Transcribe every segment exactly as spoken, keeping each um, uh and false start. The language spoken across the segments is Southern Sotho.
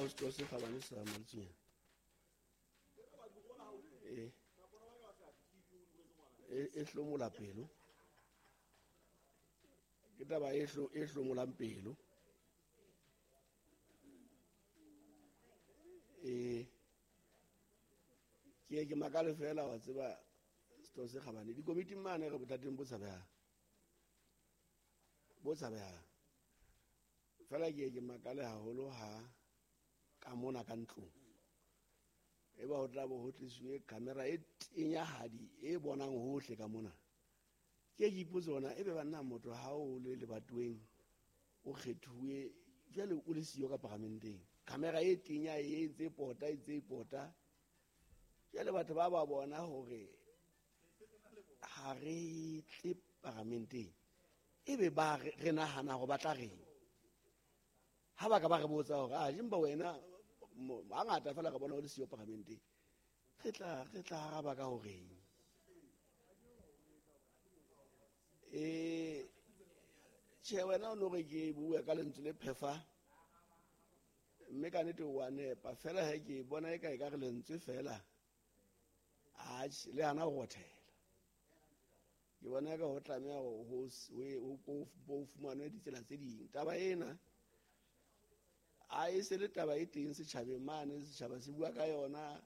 ho setho se kgabane sa Mantsonyana. E e hlomola pelo. Ke taba e hlo e hlomolang pelo. E ke ke makale fela wa tseba setho se kgabane dikomiting mane re bothateng bo tshabehang. Bo tshabehang. Fela ke ke makale haholo ha ka mona ka ntlong. E ba ho tla bo ho tlisuwe camera e tenyahadi e bonang hohle ka mona. Ke ke ipotse hona ebe banna motho ha o le lebatoweng o kgethuwe jwale o le siyo ka paramenteng. Camera e tenya e ntse pota e ntse pota. Jwale batho ba ba bona hore ha re tle paramenteng. Ebe ba re nahana hore ba tla reng. Ha ba ka ba re botsa hore ah jimba wena hangata fela re bona o le siyo paramenteng. Re tla re tla araba ka horeng. Eh tjhe wena o no re ke bua ka lentswe le phefa. Mme ka nnete wa nepa fela he ke bona e ka e ka re lentswe fela. Atjhe le hana ho rothela. Ke bona ka ho tlameha ho ho ho fumanwe ditsela tse ding. Taba ena a e se le taba e teng setjhabeng mane setjhaba se bua ka yona.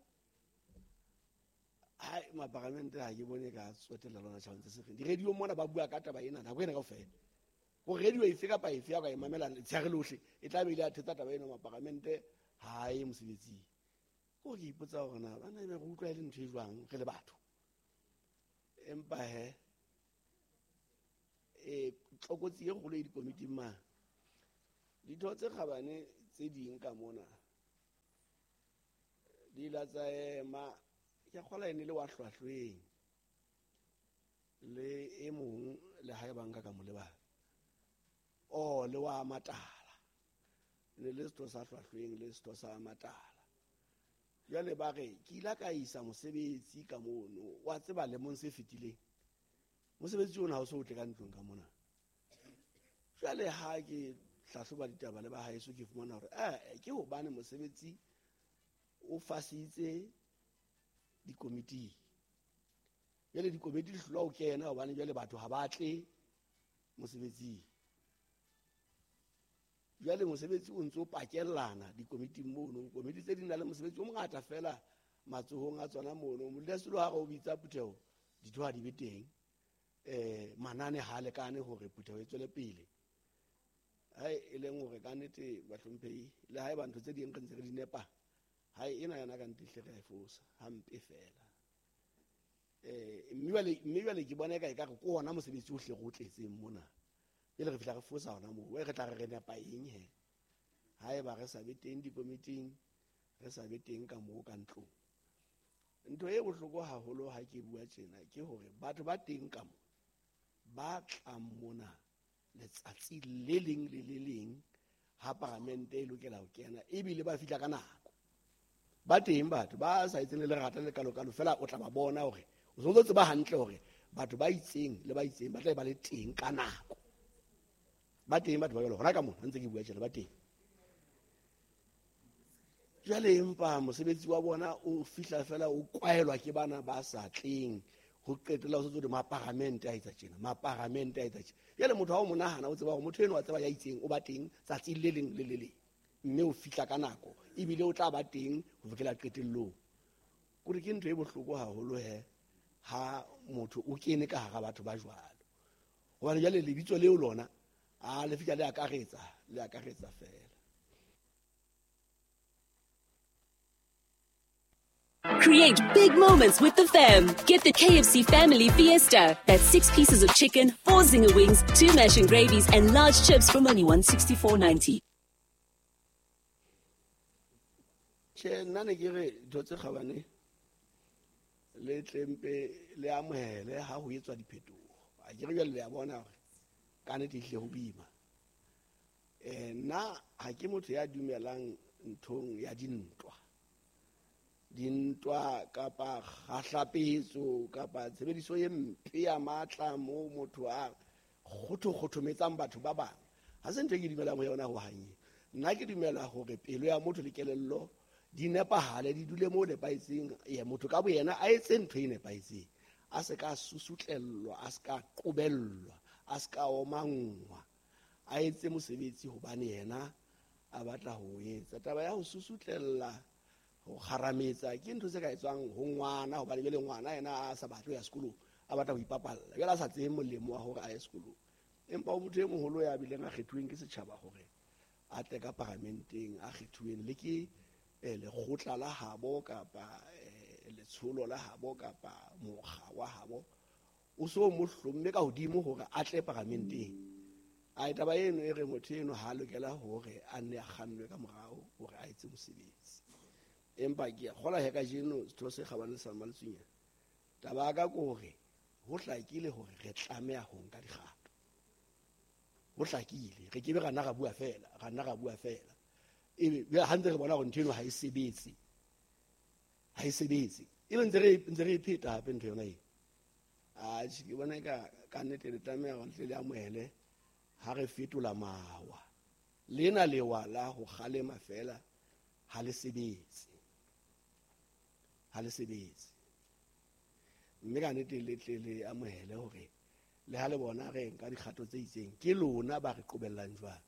Hai maparamente ha ke bone ka tsotella lona tjhabeng tse seng. Di-radio mona ba bua ka taba ena nako ena kaofela. Ho radio efe kapa efe ya ka e mamela letsheare lohle e tla be ile a thetsa taba ena maparamente ha e mosebetsing. Ko ke ipotsa hore na bana ebe re utlwa e le ntho e jwang re le batho. Empa he e tlokotsi e kgolo e dikomiting mane. Ditho tse kgabane tse ding ka mona di la tsa ema ke kgola ene le wa hlwahlweng le e mong le ha e banka ka mo lebala. Oh le wa Matala ne le setho sa hlwahlweng le setho sa Matala. Jwale ba re ke ile ka isa mosebetsi ka mono wa tseba lemong se fetileng. Mosebetsi ona ha o so tle ka ntlong ka mona. Jwale ha ke hlahloba ditaba le ba haeso ke fumana hore eh ke hobane mosebetsi o fasitse dikomiti. Jwale dikomiti di hlolwa ho kena hobane jwale batho ha ba tle mosebetsing. Jwale mosebetsi o ntso pakellana dikomiting mono. Komiti tse di na le mosebetsi o mongata fela matsohong a tsona mono. Modulasetulo ha re o bitsa phutheho ditho ha di be teng. Eh manane ha lekane hore phutheho e tswele pele. Hai e leng hore ka nnete bahlomphehi le haeba ntho tse ding re ntse re di nepa hai ena yona ka nnete hle re a e fosa hampe fela. Eh mme jwale mme jwale ke bona eka e ka re ke hona mosebetsi ohle re o tletseng mona. Pele re fihla re fosa hona moo re tla re re nepa eng he. Haeba re sa be teng dikomiting re sa be teng ka moo ka ntlong. Ntho e bohloko haholo ha ke bua tjena ke hore batho ba teng ka mo ba tlang mona letsatsi le leng le le leng ha paramente e lokela ho kena ebile ba fihla ka nako. Ba teng batho ba sa etseng le lerata le kalokalo fela o tla ba bona hore o so tseba hantle hore batho ba itseng le ba itseng ba tla ba le teng ka nako. Ba teng batho ba jwalo hona ka mona ntse ke bua tjena ba teng. Jwale empa mosebetsi wa bona o fihla fela o kwaelwa ke bana ba sa tleng. Ho qetela o sotse maparamente a etsa tjena maparamente a etsa tjena. Jwale motho ha o monahana o tseba hore motho eno wa tseba ya itseng o ba teng tsatsi le leng le le leng mme o fihla ka nako ebile o tla ba teng ho fihlela qetellong. Kore ke ntho e bohloko haholo he ha motho o kene ka hara batho ba jwalo. Hobane jwale lebitso leo lona a le fihla le akaretsa le akaretsa fela. Create big moments with the fam. Get the K F C Family Fiesta. That's six pieces of chicken, four zinger wings, two mash and gravies, and large chips from only one sixty-four ninety. Che nna ne ke re ntho tse kgabane le tlempe le amohele ha ho etswa diphetoho. A ke re jwale le a bona hore ka nnete ehlile ho boima. Eh nna ha ke motho ya dumelang nthong ya dintwa. Dintwa kapa kgahlapetso kapa tshebediso e mpe ya matla moo motho a kgothokgothometsang batho ba bang. Ha se ntho e ke dumelang ho yona ho hang. Nna ke dumela hore pelo ya motho le kelello di nepahale, di dule mo nepahetseng. Ya motho ka boyena a etse ntho e nepahetseng, a se ka susutlellwa, a se ka qobellwa, a se ka omanngwa, a etse mosebetsi hobane yena a batla ho etsa. Taba ya ho susutlella, ho kgarametsa ke ntho tse ka etswang ho ngwana, hobane jwale ngwana yena a sa batle ho ya sekolong, a batla ho ipapalla, jwale a sa tsebe molemo wa hore a ye sekolong. Empa o motho e moholo ya bileng a kgethuweng ke setjhaba hore a tle ka paramenteng, a kgethuweng le ke lekgotla la habo kapa letsholo la habo kapa mokga wa habo, o so mo hlomme ka hodimo hore a tle paramenteng. A taba eno e re motho eno ha lokela hore a nne a kgannwe ka morao hore a etse mosebetsi. Empa ke a kgolwa he kajeno setho se kgabane sa Mmaletsonya, taba ya ka ke hore ho hlakile hore re tlameha ho nka dikgato. Ho hlakile, re kebe ra nna ra bua fela, ra nna ra bua fela. Ebe ha ntse re bona hore ntho eno ha e sebetse, ha e sebetse, ebe ntse re ntse re e pheta hape ntho yona eo. Atjhe, ke bona ka ka nnete le tlameha hore tle le amohele ha re fetola mawa. Lena lewa la ho kgalema fela ha le sebetse, ha le sebetse. Mme ka nnete le tle le amohele hore le ha le bona re nka dikgato tse itseng, ke lona ba re qobellang jwalo.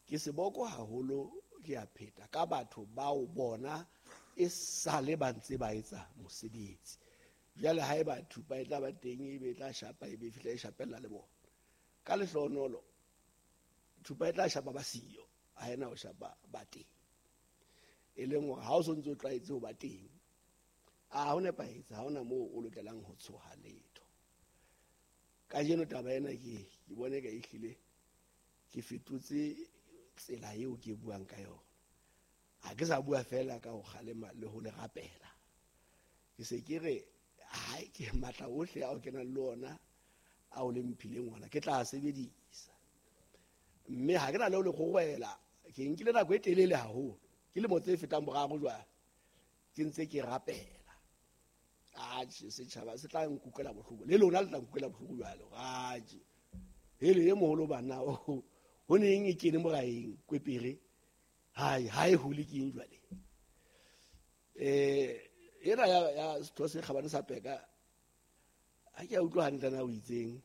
Ke seboko haholo, ke a pheta ka batho bao bona e sale ba ntse ba etsa mosebetsi. Jwale haeba thupa e tla ba teng, ebe e tla shapa, ebe e fihla e shapella le bona. Ka lehlohonolo thupa e tla shapa ba siyo, ha ena ho shapa ba teng. E leng hore ha o so ntse o tlwaetse ho ba teng, a ho nepahetse, ha hona moo o lokelang ho tshoha letho. Kajeno taba ena ke ke bone ka ehlile ke fetotse tsela eo ke buang ka yona. Ha ke sa bua fela ka ho kgalema le ho le rapela. Ke se ke re ha ke matla ohle ao ke nang le ona ao le mphileng ona, ke tla sebedisa. Mme ha ke na le ho le kgorwela, ke nkile nako e telele haholo, ke lemo tse fetang boraro jwale ke ntse ke rapela. Atjhe, setjhaba se tla nkutlwela bohloko, le lona le tla nkutlwela bohloko jwale. Atjhe, hele e moholo bana ho neng e kene moraeng kwepere, hai ha e hole ke eng jwale. Eh ena ya ya setho se kgabane sa Peka, ha ke a utlwa hantle na o itseng.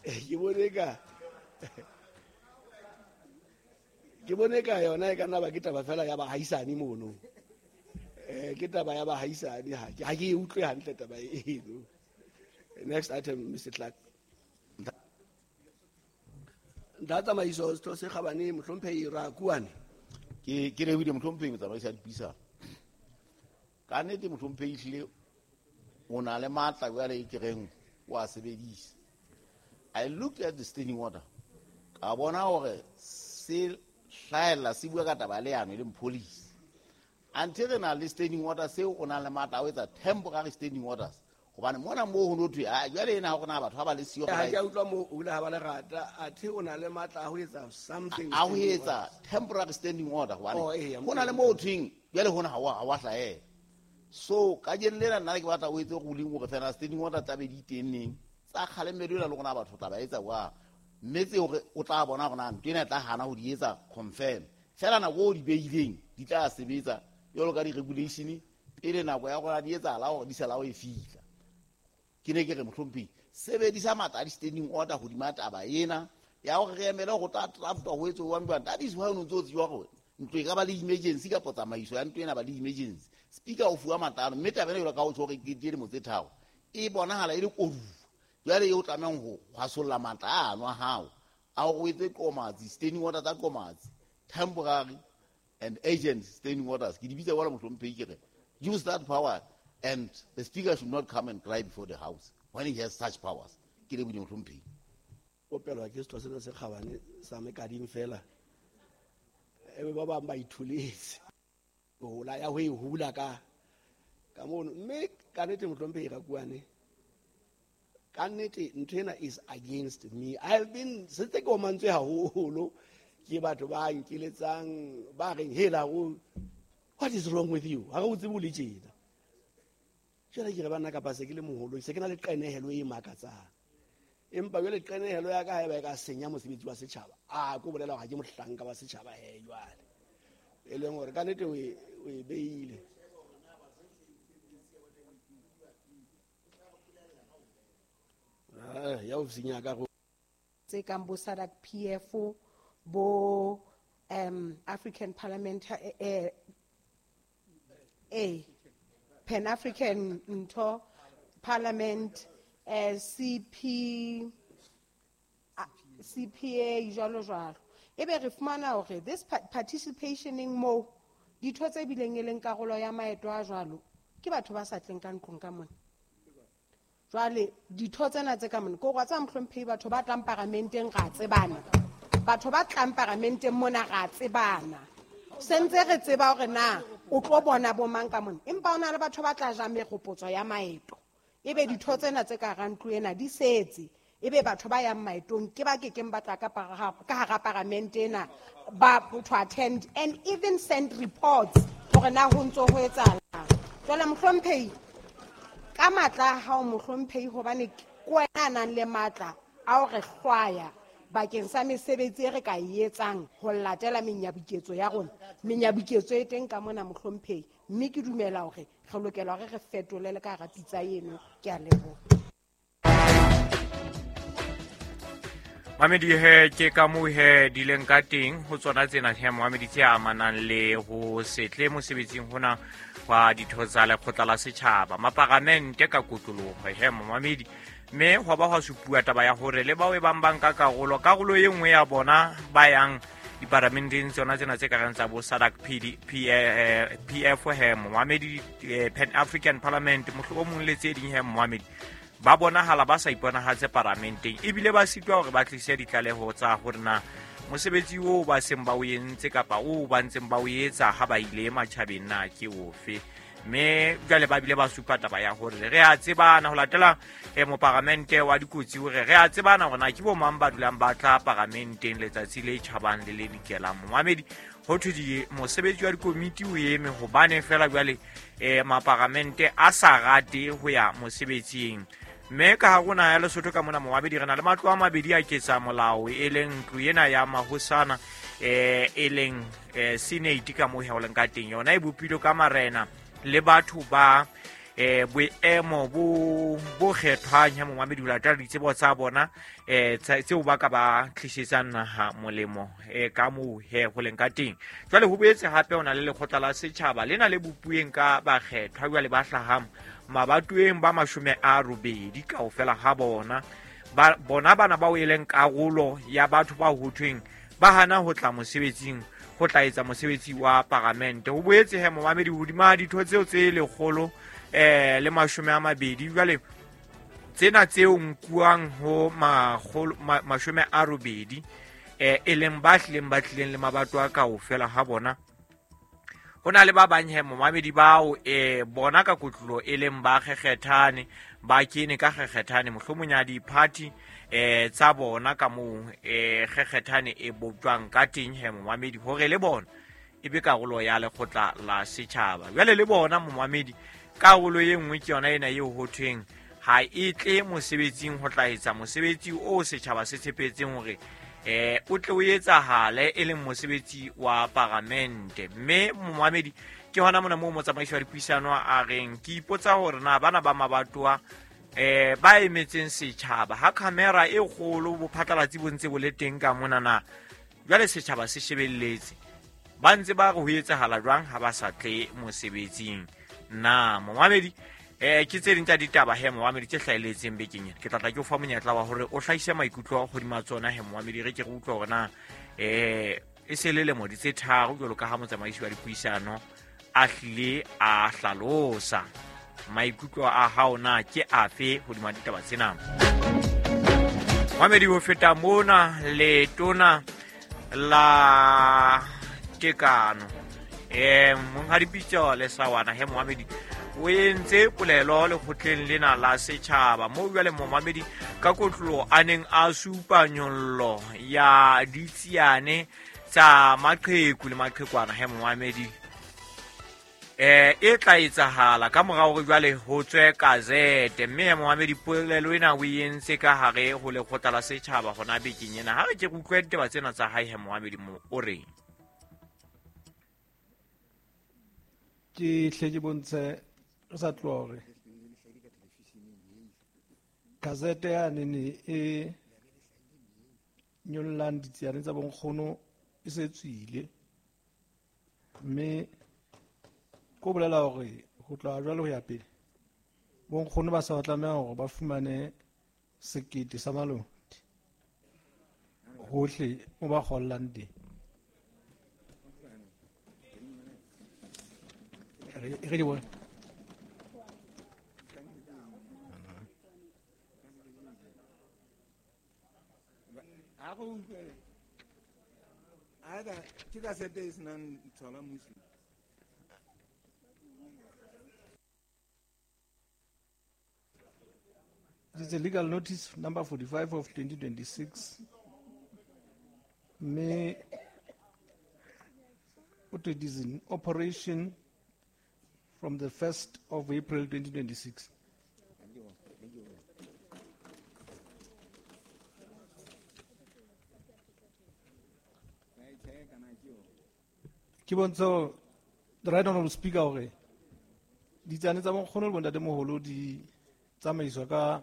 Eh ke bone ka ke bone ka yona e ka nna ba ke taba fela ya bahaisane mono. Eh ke taba ya bahaisane, ha ke ha ke e utlwe hantle taba eno. Next item, Mister Clark. Nta tsamaiso setho se kgabane mohlomphehi Rakuane. Ke ke lebohile mohlomphehi motsamaisi wa dipuisano. Ka nnete mohlomphehi ehlile o na le matla jwale e ke reng o a sebedisa. I looked at the standing order, ka bona hore se hlahella se bua ka taba ya leano e leng policy. Until re na le standing order seo o nang le matla a ho etsa temporary standing orders. Hobane mona moo ho no thwe, ah, jwale ena ha hore na batho ha ba le siyo. Ha ke a utlwa moo o ile ha ba lerata, athe o na le matla a ho etsa something. A ho etsa temporary standing order hobane Oh, eya, ho na le moo ho thweng jwale hona ha wa, ha wa hlahela. So kajeno lena nna ke batla o etse ruling hore fela standing order tsa be di teng neng. Tsa kgalemelo ena le rona batho tla ba etsa jwang. Mme tse hore o tla bona hore na ntho ena e tla hana ho di etsa confirm. Fela nako o di beileng di tla sebetsa jwalo ka di-regulation pele nako ya rona di etsahala hore di sala ho e fihla. Ke ne ke re mohlomphehi, sebedisa matla a di-standing order hodima taba ena ya hore re emele hore o tla draftwa ho etswe jwang jwang. That is why o no ntso tseba hore ntlo e ka ba le emergency kapa tsamaiso ya ntlo ena ba le emergency. Speaker o fuwa matla ano, mme taba ena jwalo ka o tjho hore ke dilemo tse tharo, e bonahala e le koduwa. Jwale eo tlamehang ho hwasolla matla ano a hao a hore o etse qomatsi, standing order tsa qomatsi, temporary and urgent standing orders. Ke di bitsa jwalo mohlomphehi, ke re use that power and the speaker should not come and cry before the house when he has such powers. Ke lebohile mohlomphehi. Opelwa ke setho sena se kgabane sa mekading fela. Ebe ba bang ba itholetse. Hola ya ho e hula ka ka mono. Mme ka nnete mohlomphehi Rakuane, ka nnete ntho ena is against me. I've been setse ke omantswe haholo ke batho ba nkeletsang ba reng hela o what is wrong with you? Ha re o tsebe o le tjena. Jwale ke re banna kapa se ke le moholo, se ke na le qenehelo e makatsang. Empa jwale qenehelo ya ka haeba e ka senya mosebetsi wa setjhaba, a ko bolela hore ha ke mohlanka wa setjhaba he jwale. E leng hore ka nnete o e o e beile. Ah, ya ofising ya ka go tse kang bo SADC P F O, bo um African Parliament, eh, eh, Pan African ntho Parliament, eh, C P, C P A jwalo jwalo. Ebe re fumana hore this participationeng mo ditho tse bileng e leng karolo ya maeto a jwalo ke batho ba sa tleng ka ntlong ka mona. Jwale ditho tsena tse ka mona ko gwa tsa mohlomphehi batho ba tlang paramenteng ra tsebana. Batho ba tlang paramenteng mona ra tsebana. Sentse re tseba hore na o tlo bona bo mang ka mona. Empa hona le batho ba tla ja meropotso ya maeto. Ebe ditho tsena tse ka hara ntlo ena di setse. Ebe batho ba yang maetong ke ba kekeng ba tla ka ka hara paramente ena ba to attend and even send reports hore na ho ntso ho etsahalang. Jwale mohlomphehi ka matla a hao mohlomphehi hobane ke wena a nang le matla a ho re hlwaya bakeng sa mesebetsi e re ka e etsang ho latela menyabuketso ya rona. Menyabuketso e teng ka mona mohlomphehi, mme ke dumela hore re lokela hore re fetolele ka hara pitsa eno. Ke a leboha. Mamedi he ke ka moo he di leng ka teng ho tsona tsena he Mohamedi tse amanang le ho setle mosebetsing hona wa ditho tsa lekgotla la setjhaba maparamente ka kotloloho he Mohamedi, mme hwa ba hwa supuwa taba ya hore le bao e bang bang ka karolo karolo e nngwe ya bona ba yang diparamenteng tsona tsena tse kareng tsa bo SADC P D P P F he Mohamedi, Pan African Parliament mohlomong le tse ding he Mohamedi ba bonahala ba sa iponahatse paramenteng ebile ba sitwa hore ba tlise ditlaleho tsa hore na mosebetsi oo ba seng ba o entse kapa oo ba ntseng ba o etsa ha ba ile matjhabeng na ke ofe. Mme jwale ba bile ba supa taba ya hore re a tsebana ho latela eh, moparamente wa dikotsi hore re a tsebana hore na ke bo mang ba dulang ba tla paramenteng letsatsi le tjhabang le le dikelang. Mohamedi ho thwe di mosebetsi wa dikomiti o eme hobane fela jwale eh, maparamente a sa rate ho ya mosebetsing. Mme ka ha rona ya Lesotho ka mona Mohamedi re na le matlo a mabedi a ketsa molao e leng ntlo ena ya mahosana eh e leng eh, Senate ka moo ho leng ka teng yona e bopilwe ka marena le batho ba eh boemo bo bo kgethwang ya Mohamedi ho latela ditsebo tsa bona eh tseo ba ka ba tlisetsang naha molemo eh ka moo he ho leng ka teng. Jwale ho boetse hape ho na le lekgotla la setjhaba lena le bopueng ka bakgethwa jwale ba hlahang mabatoeng ba mashome a robedi kaofela ha bona ba bona bana bao e leng karolo ya batho ba ho thweng ba hana ho tla mosebetsing ho tla etsa mosebetsi wa paramente. Ho boetse he Mohamedi hodima ditho tseo tse lekgolo eh le mashome a mabedi jwale tsena tseo nkuwang ho makgolo mashome a robedi eh e leng ba hlileng ba tlileng le mabato a kaofela ha bona. Ho na le ba bang he Mohamedi bao eh bona ka kotlolo e leng ba kgekgethane ba kene ka kgekgethane mohlomong ya di-party eh tsa bona ka moo eh kgekgethane e bopjwang ka teng he Mohamedi hore le bona e be karolo ya lekgotla la setjhaba. Jwale le bona Mohamedi karolo e nngwe ke yona ena eo ho thweng ha e tle mosebetsing ho tla etsa mosebetsi o setjhaba se tshepetseng hore eh o tle o etsahale e leng mosebetsi wa paramente. Mme Mohamedi ke hona mona moo motsamaisi wa dipuisano a reng ke ipotsa hore na bana ba mabatoa eh ba emetseng setjhaba ha camera e kgolo bophatlalatsi bo ntse bo le teng ka mona na jwale setjhaba se shebelletse ba ntse ba re ho etsahala jwang ha ba sa tle mosebetsing na Mohamedi. Eh ke tse ding tsa ditaba he Mohamedi tse hlahelletseng bekeng ena. Ke tla tla ke o fa monyetla wa hore o hlahise maikutlo hodima tsona he Mohamedi re ke re utlwe hore na eh e se le lemo di tse tharo jwalo ka ha motsamaisi wa dipuisano a hlile a hlalosa maikutlo a hao na ke afe hodima ditaba tsena. Mohamedi ho feta mona letona la tekano eh monghadi Pitso Lesawana he Mohamedi o entse polelo lekgotleng lena la setjhaba moo jwale Mohamedi ka kotlolo a neng a supa nyollo ya ditsiane tsa maqheku le maqhekwana he Mohamedi. Eh e tla etsahala ka mora hore jwale ho tswe gazette mme Mohamedi polelo ena o entse ka hare ho lekgotla la setjhaba hona bekeng ena. Ha re ke re utlwe ditaba tsena tsa hae he Mohamedi mo o reng. Ke hle ke bontshe re sa tloha hore gazette ya nene e nyollang ditsiane tsa bonkgono e se tswile mme ko bolela hore ho tloha jwale ho ya pele bonkgono ba sa tlameha hore ba fumane sekete sa maloti hohle mo ba kgollang teng. Re di bone. It is a legal notice number forty-five of twenty twenty-six. May it is in operation from the first of April twenty twenty-six. Ke bontsha the right honorable speaker hore ditsane tsa bonkgono le bontatemoholo di tsamaiswa ka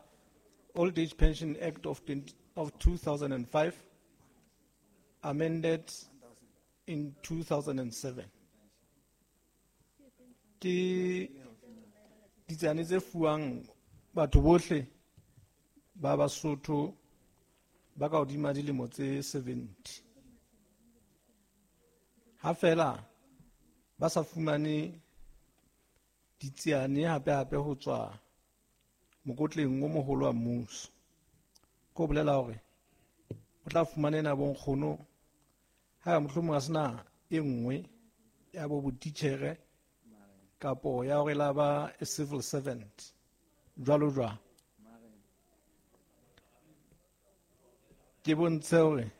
Old Age Pension Act of, twenty, of two thousand five, amended in two thousand seven. Ke ditsane tse fuwang batho bohle ba Basotho ba ka hodima dilemo tse seventy. Ha fela ba sa fumane ditsiane hape hape ho tswa mokotleng o moholo wa mmuso. Ko bolela hore o tla fumana ena bonkgono ha mohlomong a sena e nngwe ya bo botitjhere kapo ya hore la ba a civil servant jwalo jwalo. Ke bontshe hore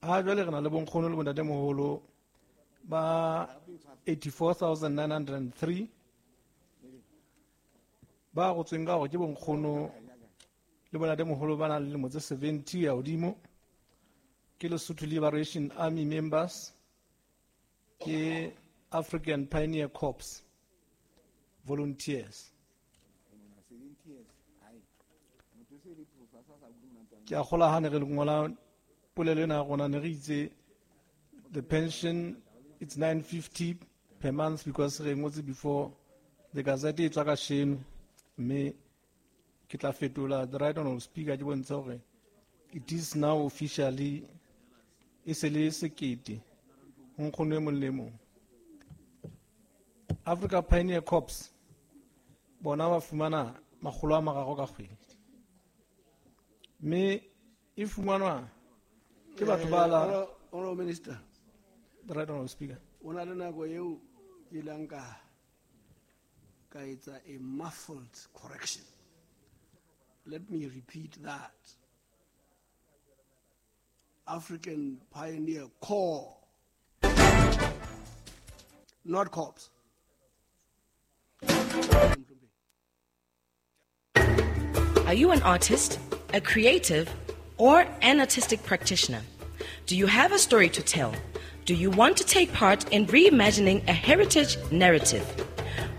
ha jwale re na le bonkgono le bontatemoholo ba eighty-four thousand nine hundred three ba gotsweng ka hore ke bonkgono le bontatemoholo ba nang le dilemo tse seventy ya hodimo, ke Lesotho Liberation Army members, ke African Pioneer Corps volunteers. Ke a kgola ha ne re ngola polelo ena ya rona ne re itse the pension it's nine fifty per month because re ngotse before the gazette e tswa ka sheno mme ke tla fetola the right honorable speaker ke bontshe hore it is now officially e se le sekete ho nkgono e mong le mong. Africa Pioneer Corps bona ba fumana makgolo a mararo ka kgwedi mme e fumanwa ke batho ba la Honorable Minister. The right honorable speaker. O na le nako eo ke ileng ka ka etsa a muffled correction. Let me repeat that. African Pioneer Corps, not corps. Are you an artist, a creative, or an artistic practitioner? Do you have a story to tell? Do you want to take part in reimagining a heritage narrative?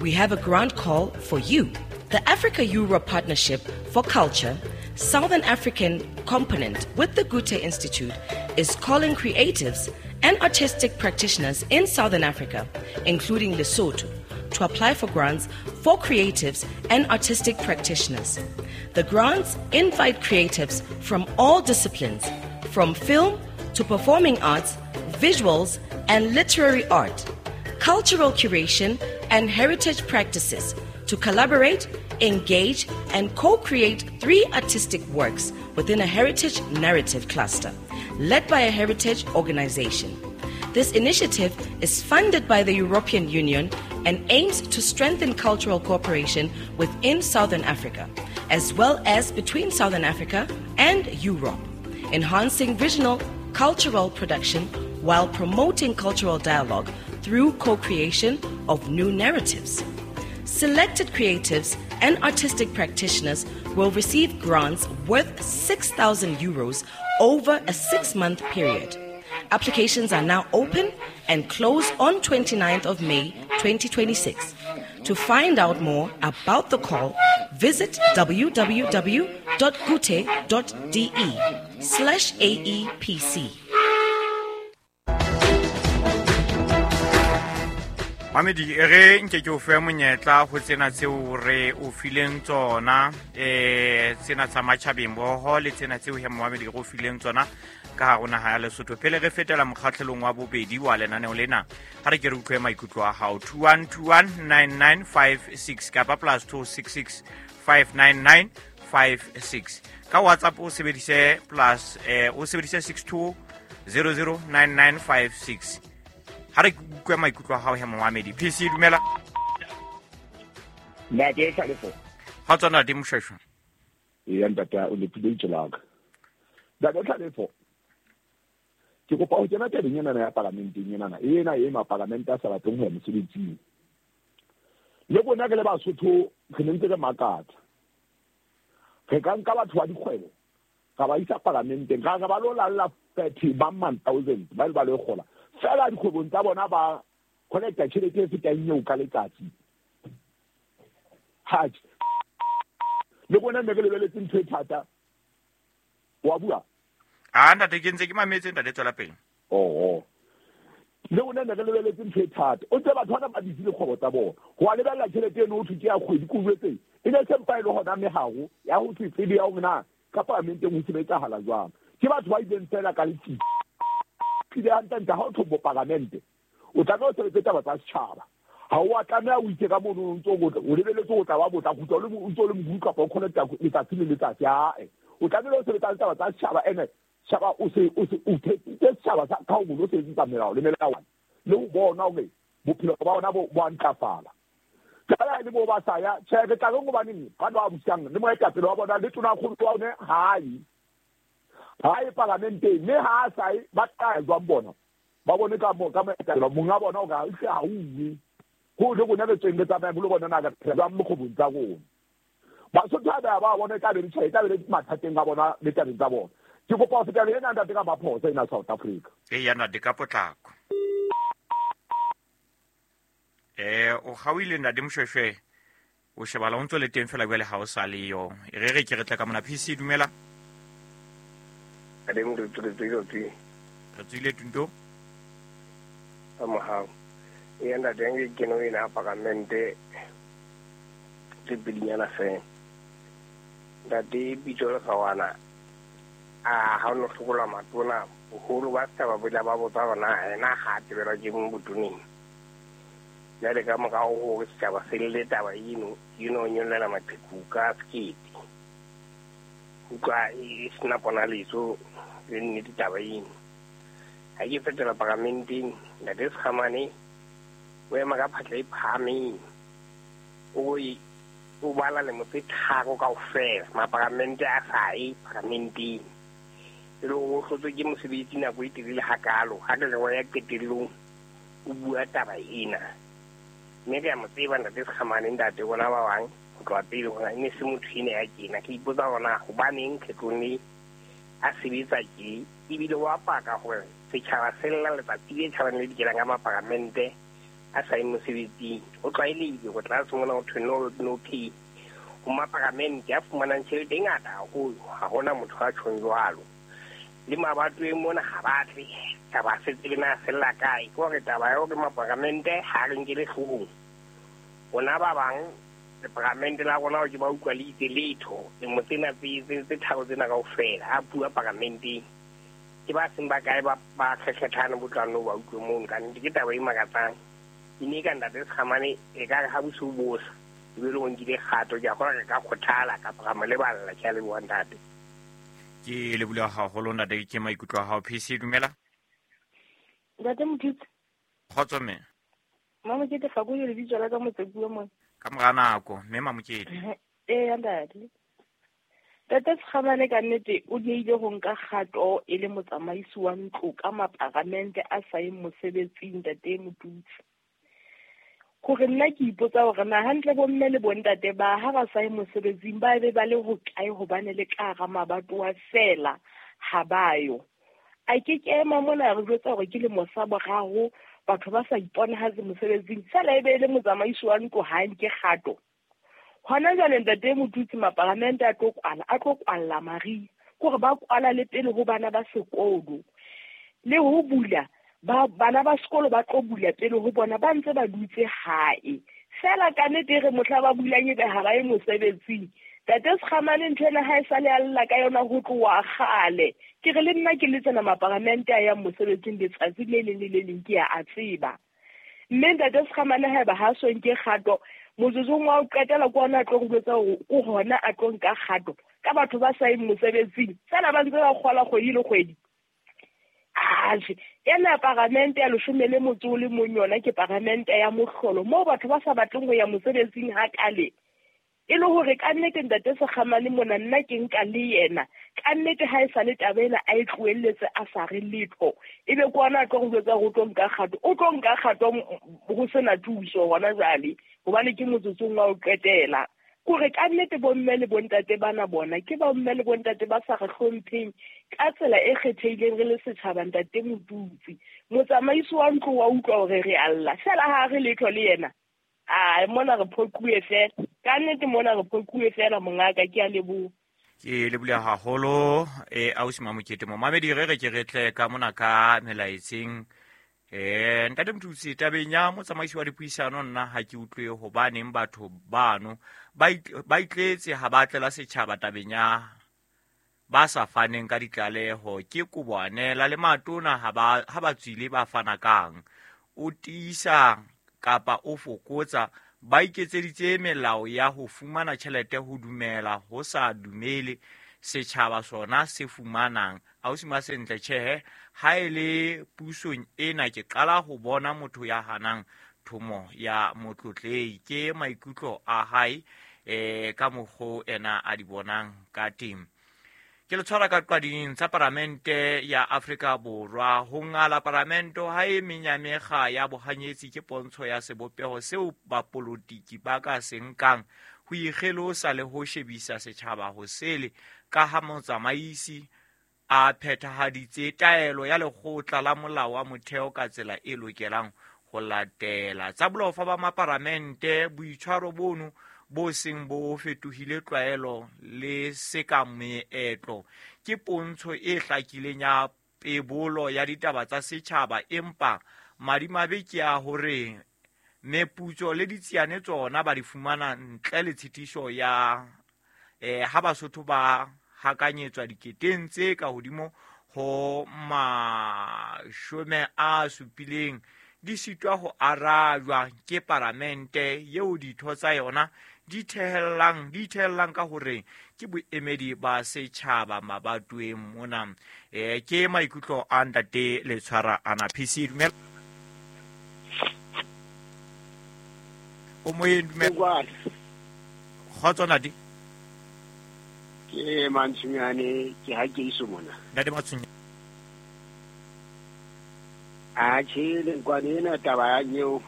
We have a grant call for you. The Africa-Europe Partnership for Culture, Southern African component with the Goethe Institute, is calling creatives and artistic practitioners in Southern Africa, including Lesotho, to apply for grants for creatives and artistic practitioners. The grants invite creatives from all disciplines, from film to performing arts, visuals and literary art, cultural curation and heritage practices to collaborate, engage and co-create three artistic works within a heritage narrative cluster led by a heritage organization. This initiative is funded by the European Union and aims to strengthen cultural cooperation within Southern Africa, as well as between Southern Africa and Europe, enhancing regional cultural production while promoting cultural dialogue through co-creation of new narratives. Selected creatives and artistic practitioners will receive grants worth six thousand euros over a six-month period. Applications are now open and close on twenty-ninth of May twenty twenty-six. To find out more about the call, visit www.gute.de slash A E P C. Mamedi e re nke ke o fe monyetla ho tsena tseo re o fileng tsona, eh tsena tsa matjhabeng boho le tsena tseo he Mamedi re o fileng tsona ka hare ho naha ya Lesotho. Pele re fetela mokgahlelong wa bobedi wa lenaneo lena, ha re ke re utlwe maikutlo a hao. Two one two one nine nine five six kapa plus two six six five nine nine five six. Ka WhatsApp o sebedise plus eh o sebedise six two zero zero nine nine five six. Ha re utlwe maikutlo a hao he Mohamedi. P C dumela. Ntate Tlhalefo. Ha tsona di moshweshwe. Ee ntate o lepile tjelaka. Ntate Tlhalefo. Ke kopa ho kena tabeng ena ya parlamenteng ena. Ena e ma parlamente a sa batleng ho ya mosebetsing. Le rona re le Basotho re ne ntse re makatsa. Re ka nka batho ba dikgwebo ra ba isa parlamenteng, ra re ba lo lalla thirty ba man thousand ba le ba le kgola. Fela dikgwebong tsa bona ba connecta tjhelete e fetang eo ka letsatsi. Ha le rona ne re lebeletse ntho e thata. Wa bua? Ah ntate ke ntse ke mametse ntate tswela pele. Oh oh. Le rona ne re lebeletse ntho e thata. O ntse batho bana ba ditse dikgwebo tsa bona. Ho a lebella tjhelete eno ho thwe ke ya kgwedi ko jwetse. E ne se mpa e le hona meharo ya ho se tsebe ya hore na ka parlamenteng ho sebetsahala jwang. Ke batho ba ileng fela ka letsitsi. Ile hantle ha o thobo parlamente. O tlameha o sebetse taba tsa setjhaba. Ha o a tlameha o itse ka mono o ntso o lebeletse o tla ba botla kgutla o le o ntso le mohuru kapa o connecta letsatsi le letsatsi. Ae. O tlamehile o sebetsa taba tsa setjhaba ene setjhaba o se o se o thetsitse setjhaba sa ka ho lo sebetsa melao le melawana le ho bona hore bophelo ba bona bo bo a ntlafala. Jwale le bo ba sa ya tjhe re tla reng hobaneng ba ba busang le moetapele wa bona le tona kgolo wa one ha ye. Ha ye parlamenteng mme ha a sa ye ba tla jwang bona ba bone ka mo ka moetapele monga bona o ka hle ha uwe ho le rona re tsweng re tsamaya le bona na ka phela jwang mokgobong tsa rona. Basotho ha ba ba bona e tla be le tjhe e tla be le mathateng a bona le tabeng tsa bona. Ke kopa ho feta le ena ntate ka maphoso ena South Africa. E ya ntate ka potlako. Eh o kgaohile ntate Moshweshwe. O shebala o ntso le teng fela jwale ha o sa le yo. E re re ke re tla ka mona P C dumela. Ade mo re tswile tswile. Re tswile tunto. Ka mohau. E ntate nge ke no ena parlamente tse pedinyana fela. Ntate bitso le gawana. A ha no hlokola matona boholo ba setjhaba bo tla ba botsa hore na ena ha tebelwa ke mong botoneng. Jwale ka morao hore setjhaba se lle taba eno, eno nyollela maqheku ka sekete. Utlwa e sena ponaletso le nnete taba eno. Ha ke fetela parlamenteng, ntate Sekgamane o ema ka phatla e phahameng. O e o bala lemo tse tharo kaofela, maparlamente a sa ye parlamenteng. E le hore o hlotswe ke mosebetsi nako e telele hakalo, ha re re wa ya qetellong o bua taba ena. Mme re a mo tseba ntate Sekgamane ntate bona ba bang ho tloha pele hore e ne se motho ena ya tjena. Ke ipotsa hore na hobaneng kgetlong le a sebetsa tje, ebile wa paka hore setjhaba se lla letsatsi le tjhabang le dikelang ka maparlamente a sa ye mosebetsing. Ho tlwaelehile hore tlase mona ho thwe no no pay. Ho maparlamente a fumanang tjhelete e ngata haholo, ha hona motho a tjhong jwalo. Le mabatoweng mona ha ba tle, taba se tsebe na fella kae. Ke hore taba ya hore maparlamente ha re nkele hloohong. Rona ba bang leparlamente la rona ke ba utlwa le itse letho lemo tsena tse tse tharo tsena kaofela a bua parlamenteng. Ke ba seng ba kae ba ba kgekgethane botlano ba utlwe mono. Ka nnete ke taba e makatsang. E ne ka ntate Sekgamane e ka re ha bosiu bo sa ebe le o nkile kgato, ke a kgolwa re ka kgothala kapa ra mo leballa. Ke a leboha ntate. Ke leboha haholo ntate ke maikutlo a hao. P C dumela. Ntate Mokete. Kgotso mme. Mamokete fa go le lebitso la ka Motsepuwa mona. Ka mora nako mme Mamokete. Ee ntate. Ntate Sekgamane ka nnete o diehile ho nka kgato e le motsamaisi wa ntlo ka maparamente a sa yeng mosebetsing ntate Motutsi. Hore nna ke ipotsa hore na hantle bomme le bontate ba ha ba sa ye mosebetsing ba be ba le hokae, hobane le ka hara mabatowa feela ha ba yo. A ke ke ema mona re jwetsa hore ke lemo sa boraro batho ba sa iponahatse mosebetsing, feela e be e le motsamaisi wa ntlo ha nke kgato. Hona jwale ntate Motutsi maparamente a tlo kwala, a tlo kwalla mariha, kore ba kwala le pele ho bana ba sekolo. Le ho bula, ba bana ba sekolo ba tlo bula pele ho bona ba ntse ba dutse hae. Feela ka nnete re mohla ba bulang ebe ha ba ye mosebetsing. Ntate Sekgamane ntho ena ha e sa le a lla ka yona ho tloha kgale. Ke re le nna ke le tsena maparamente a yang mosebetsing letsatsi le leng le le leng ke a a tseba. Mme ntate Sekgamane haeba ha so nke kgato, motsotsong wa ho qetela ke ona a tlo re jwetsa hore ke hona a tlo nka kgato ka batho ba sa yeng mosebetsing. Feela ba ntse ba kgola kgwedi le kgwedi. Atjhe, ena paramente ya leshome le motso o le mong yona ke paramente ya mohlolo moo batho ba sa batleng ho ya mosebetsing hakale. E le hore ka nnete ntate Sekgamane mona nna ke nka le yena. Ka nnete ha e sa le taba ena a e tlohelletse a sa re letho. Ebe ke ona a tlo re jwetsa hore o tlo nka kgato. O tlo nka kgato ho sena thuso hona jwale, hobane ke motsotsong wa ho qetela. Kore ka nnete bomme le bontate bana bona ke bomme le bontate ba sa re hlompheng ka tsela e kgethehileng re le setjhaba ntate Motutsi. Motsamaisi wa ntlo wa utlwa hore re a lla, feela ha re letho le yena. Ai, mona re phoquwe feela. Ka nnete mona re phoquwe feela mongaka, ke a leboha. Ke lebohile haholo e ausi Mamokete. Momamedi re re ke re tle ka mona ka melaetseng. Eh ntate Motutsi, tabeng ya motsamaisi wa dipuisano nna ha ke utlwe hobaneng batho bano ba ba itletse ha ba tlela setjhaba tabeng ya ba sa faneng ka ditlaleho. Ke koboanela le matona ha ba ha ba tswile ba fana kang. O tiisa kapa o fokotsa, ba iketseditse melao ya ho fumana tjhelete ho dumela ho sa dumele setjhaba sona se fumanang. Ausi Masentle, tjhehe ha e le pusong ena ke qala ho bona motho ya hanang thomo ya motlotlehi. Ke maikutlo a hae eh ka mokgo ena a di bonang ka teng. Ke le tshwara ka qading tsa paramente ya Afrika Borwa. Ho ngala paramente ha e menyamekga ya bohanyetsi ke pontsho ya sebopeho seo bapolotiki ba ka se nkang ho ikgelosa le ho shebisa setjhaba ho sele, ka ha motsamaisi a phethahaditse taelo ya lekgotla la molao wa motheo ka tsela e lokelang ho latela. Tsa bolofa ba maparamente, boitshwaro bono bo seng bo fetohile tlwaelo le seka meetlo ke pontsho e hlakileng ya pebolo ya ditaba tsa setjhaba, empa madimabe ke a hore meputso le ditsiane tsona ba di fumana ntle le tshitiso ya eh ha Basotho ba hakanyetswa diketeng tse ka hodimo ho mashome a supileng di sitwa ho arajwa ke paramente yeo ditho tsa yona di thehellang di thehellang ka hore ke boemedi ba setjhaba mabatoweng mona. Eh ke maikutlo a ntate Letshwara ana P C. Dumela o moyeng, dumela. Kgotso ntate. Ke Mantshunyane, ke ha ke iso mona. Ntate Mantshunyane. Atjhe, lenkwane ena taba ya nyeo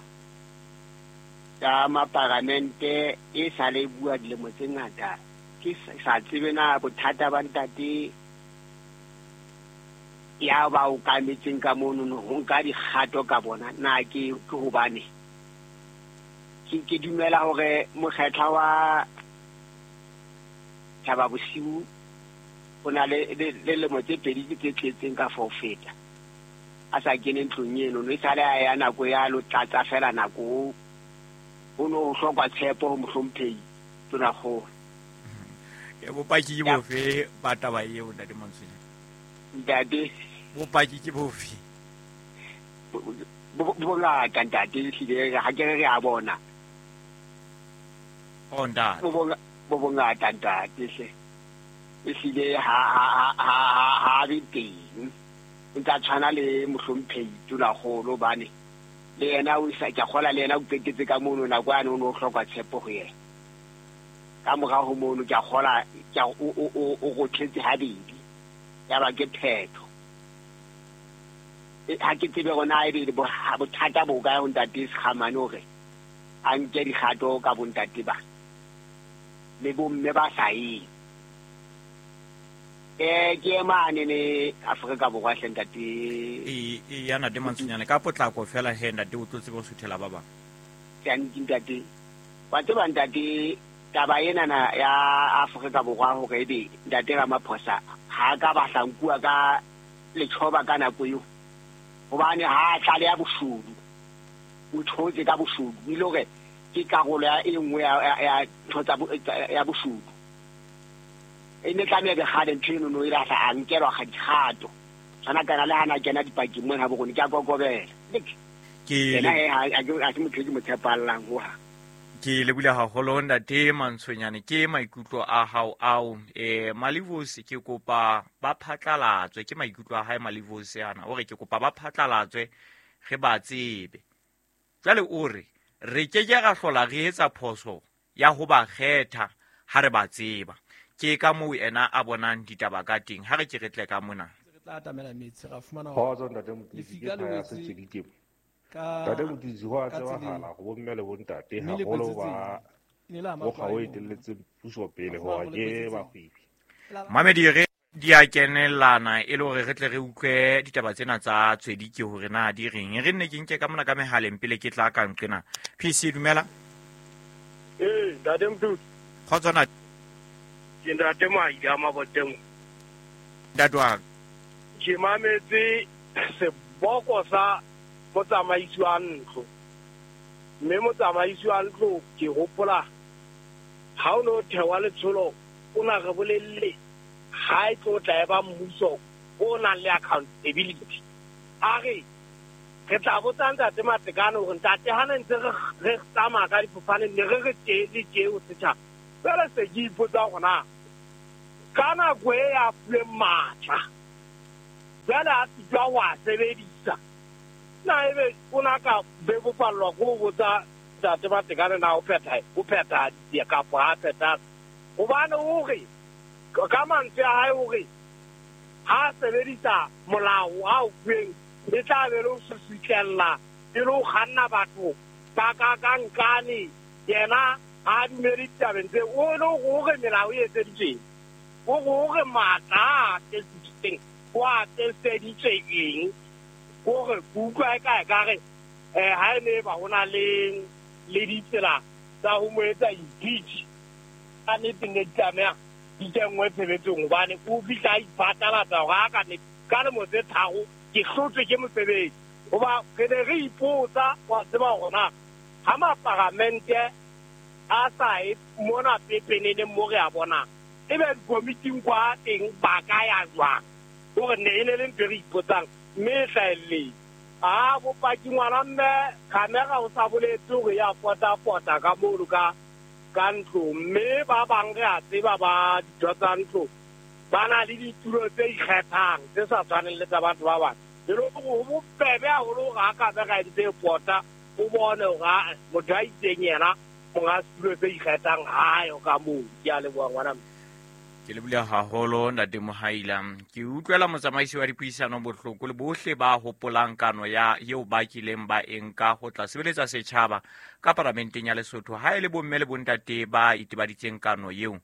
ya maparamente e sa le bua dilemo tse ngata. Ke sa tsebe na bothata ba ntate ya ba o kametseng ka mono ho nka dikgato ka bona na ke ke hobane ke ke dumela hore mokgetla wa Thaba Bosiu o na le le lemo tse pedi tse tletseng ka fa ho feta a sa kene ntlong eno, no e sale a ya nako ya lo tlatsa fela nako ho no ho hlokwa tshepo ho mohlomphehi Tonakgolo. E bopaki ke bofe ba taba eo ntate Mantshunyane? Ntate, bopaki ke bofe? Bo bongata ntate, ehlile ha ke re re a bona. Oh ntate. Bo bongata ntate hle. Ehlile ha ha ha ha be teng. O ntsa tshwana le mohlomphehi Tonakgolo bane le yena o sa ke kgola le yena o qetetse ka mono nako yane o no hloka tshepo ho yena. Ka morao ho mono ke a kgola ke o o o rothetse habedi. Ya ba ke phetho. Ha ke tsebe hore na ebe bothata bo kae ho ntate Sekgamane hore a nke dikgato ka bontate ba le bomme ba sa yeng. Eh ke mane ne Afrika Borwa hle ntate. E e ya ntate Mantsonyane ka potlako fela he ntate o tlo tsebe ho suthela ba bang. Ke ntate. Wa tseba ntate taba ena na ya Afrika Borwa hore ebe ntate Ramaphosa ha ka ba hlankuwa ka lethoba ka nako eo. Hobane ha tlale ya boshudu. O thotse ka boshudu ile hore ke karolo ya e nngwe ya ntho tsa ya boshudu. E ne tlameha be kgale ntho eno no e la a nkelwa ga dikgato. Tshwana kana le hana kena dipakeng mona ha bokgoni ke a kokobela. Ke ena ha ke a ke motho ke mo tshepallang ho ha. Ke lebile haholo ntate Mantshonyane ke maikutlo a hao ao eh Malivos ke kopa ba phatlalatswe ke maikutlo a hae Malivos ana o re ke kopa ba phatlalatswe re ba tsebe. Jwale o re re ke ke ra hlola re etsa phoso ya ho ba kgetha ha re ba tseba. Ke ka moo ena a bonang ditaba ka teng ha re ke re tle ka mona. Re tla atamela metsi ra fumana hore ntate Motutsi ke ya setswedike. Ntate Motutsi ho a tsebahala go bomme le bontate haholo ba mokgwa o etelletseng puso pele hore ke bahwebi. Mamedi re di a kenelana e le hore re tle re utlwe ditaba tsena tsa Tswedike hore na di reng. Re nne ke nke ka mona ka mehaleng pele ke tla ka nqena. P C dumela. Eh ntate Motutsi. Kgotso na. Ke ntate Maida Maboteng. Ntate wa ke mametse seboko sa motsamaisi wa ntlo. Mme motsamaisi wa ntlo ke hopola ha o no thewa letsholo o na re bolelle ha e tlo tla eba mmuso o nang le accountability. A re re tla botsa ntate Matekane hore ntate ha ne ntse re re tsamaya ka difofane ne re re tje le tje o setjhaba. Jwale se ke ipotsa hore na ka nako e ya fuweng matla jwale a sitwa ho a sebedisa. Na ebe o na ka bebofallwa ke ho botsa ntate Matekane na o phetha o phethahaditse kapa ha phetha. Hobane o re ka mantswe a hae hore ha sebedisa molao a o fuweng e tla be le ho susutlella e le ho kganna batho ka ka ka nkane yena ha dumele ditabeng tse o le hore melao e etseditsweng o hore matla a testitsweng o a testeditswe eng hore ke utlwa e ka ekare eh ha e ne ba hona le le ditsela tsa ho mo etsa impeach ka nnete ne di tlameha di kenngwe tshebetsong hobane o fihla a iphatlalatsa hore a ka nnete ka lemo tse tharo ke hlotswe ke mosebetsi. Hoba re ne re ipotsa wa tseba hore na ha maparamente a sa e mona pepeneneng mo re a bonang ebe dikomiting kwa teng ba ka ya jwang hore ne e ne le ntho e re ipotsang mme e hlahelletse. A bopaki ngwana mme camera o sa boletse hore ya pota-pota ka mono ka ka ntlo mme ba bang re a tseba ba ditho tsa ntlo ba na le ditulo tse ikgethang tse sa tshwaneng le tsa batho ba bang. E le hore ho bobebe haholo hore ha camera e ntse e pota o bone hore motho a itseng yena monga setulo se ikgethang ha yo ka moo. Ke a leboha ngwana mme. Ke lebile haholo ntate Mohaila. Ke utlwela motsamaisi wa dipuisano bohloko le bohle ba hopolang kano ya eo ba kileng ba e nka ho tla sebeletsa setjhaba ka paramenteng ya Lesotho. Ha e le bomme le bontate ba itebaditseng kano eo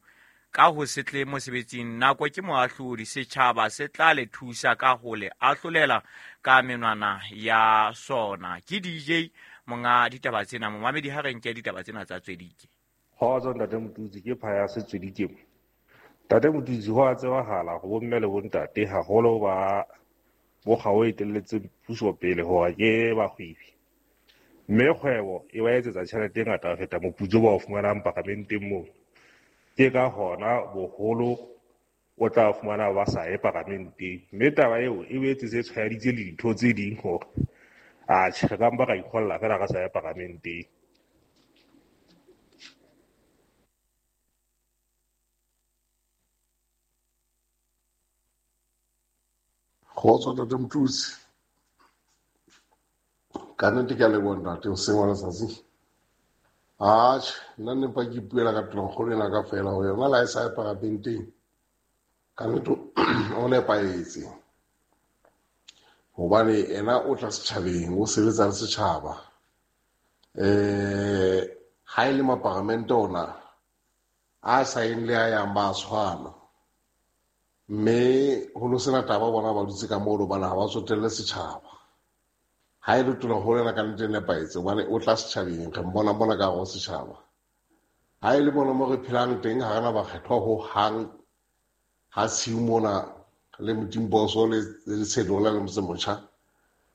ka ho se tle mosebetsing nako ke moahlodi setjhaba se tla le thusa ka ho le ahlolela ka menwana ya sona. Ke D J monga ditaba tsena momamedi ha re nke ditaba tsena tsa Tswedike. Kgotso ntate Motutsi ke phaya se Tswedike. Ntate Motutsi ho a tsebahala go bomme le bontate haholo ba mokgwa o etelletseng puso pele hore ke bahwebi. Mme kgwebo e ba etsetsa tjhelete e ngata ho feta moputso ba o fumanang paramenteng moo. Ke ka hona boholo o tla fumana ba sa ye paramenteng. Mme taba eo e boetse se tshwaeditse le dintho tse ding hore atjhe re ka mpa ra ikgolla fela re sa ye paramenteng. Kgotso ntate Motutsi. Ka nnete ke a leboha ntate hoseng wa letsatsi. Atjhe, nna ne mpa ke ipuela ka tonakgolo ena ka fela hore yona le ha e sa ye paramenteng, ka nnete o nepahetse. Hobane ena o tla setjhabeng, o sebetsa le setjhaba. Eh, ha e le maparamente ona a sa yeng le a yang ba tshwana. Mme ho no sena taba bona ba dutse ka moo hobane ha ba tsotelle setjhaba. Ha e le tonakgolo ena ka nnete e nepahetse hobane o tla setjhabeng, re mmona mona ka hare ho setjhaba. Ha e le mona mo re phelang teng ha rena bakgethwa ho hang, ha tshiu mona le Modimboso le Tshedola le Motse Motjha,